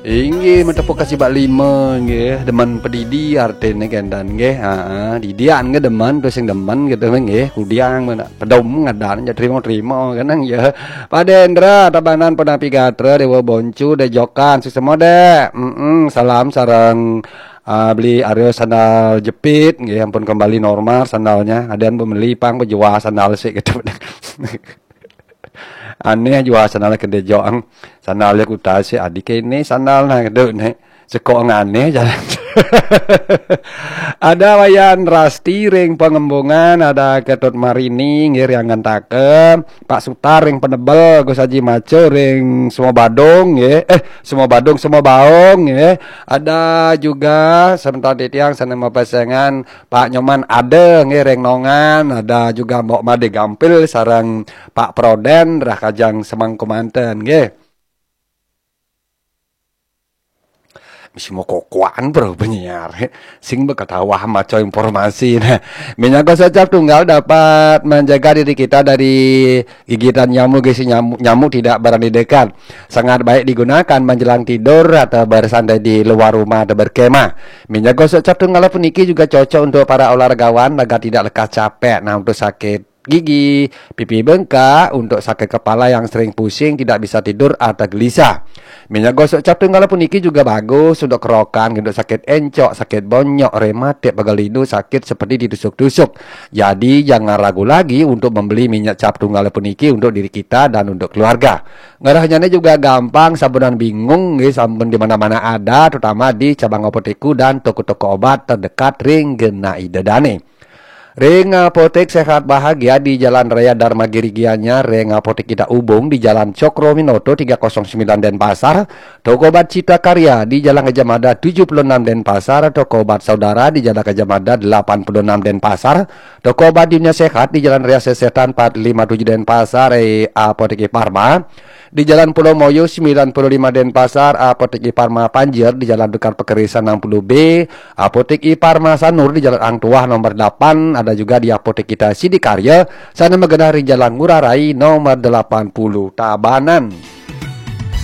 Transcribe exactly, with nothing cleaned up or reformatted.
Inggih, metepuk kasih bak lima nggih, demen pedidi artine kendan nggih. Ha, didian nggih demen, tu sing demen gitu nggih. Kudiang mana pedom ngadan ja terima-terima kenang ya. Pak Dendra, Tabanan, Penapi Gatra, Dewa Boncu, Dejokan, sesama dek. Mm-mm, salam sareng ah, beli Aryo sandal jepit nggih, ampun kembali normal sandalnya. Ada yang beli pang bejual sandal sih gitu. Aneh jual sandal ke Dejoang. Sandalnya kuta sih adik ini sandal nah gitu nih. Sekok ngane jalan. Ada Wayan Rasti ring Pengembungan, ada Ketut Marini nggih ring Ngantaka, Pak Sutar ring Penebel, Gus Haji Maco ring Semua Badung nggih. Eh, Semua Badung, Semua Baung nggih. Ada juga sebentar titiang sana mapasengan Pak Nyoman ada nggih ring Nongan, ada juga Mbok Made Gampil sareng Pak Proden rah kajang semangku manten nggih. Mesti mau kokoan bro penyiar. Sing bekatawah maco informasi. Nah, minyak gosok cap tunggal dapat menjaga diri kita dari gigitan nyamuk, gisi nyamuk, nyamuk tidak berani dekat. Sangat baik digunakan menjelang tidur atau bersantai di luar rumah atau berkemah. Minyak gosok cap tunggal puniki juga cocok untuk para olahragawan agar tidak lekas capek. Nah, untuk sakit gigi, pipi bengkak, untuk sakit kepala yang sering pusing, tidak bisa tidur atau gelisah. Minyak gosok cap tunggal puniki juga bagus untuk kerokan, untuk sakit encok, sakit bonyok, rematik, pegal linu, sakit seperti ditusuk-tusuk. Jadi jangan ragu lagi untuk membeli minyak cap tunggal puniki untuk diri kita dan untuk keluarga. Ngerahnya juga gampang, sabunan bingung, nggih, sampun di mana-mana ada, terutama di cabang apotek dan toko-toko obat terdekat ring genah Ida Dane. Ring Apotek Sehat Bahagia di Jalan Raya Dharma Giri Gianyar, ring Apotek Kita Ubung di Jalan Cokro Minoto tiga kosong sembilan Denpasar, toko obat Cita Karya di Jalan Gajah Mada tujuh puluh enam Denpasar, toko obat Saudara di Jalan Gajah Mada delapan puluh enam Denpasar, toko obat Dunia Sehat di Jalan Raya Sesetan empat lima tujuh Denpasar, eh, Apotek Parma di Jalan Pulau Moyo sembilan puluh lima Denpasar, Apotek Parma Panjer di Jalan Dukar Pekerisan enam puluh B, Apotek Parma Sanur di Jalan Ang Tuah nomor delapan, ada juga di Apotek Kita Sidikarya, sana magenah ring Jalan Ngurah Rai nomor delapan puluh Tabanan.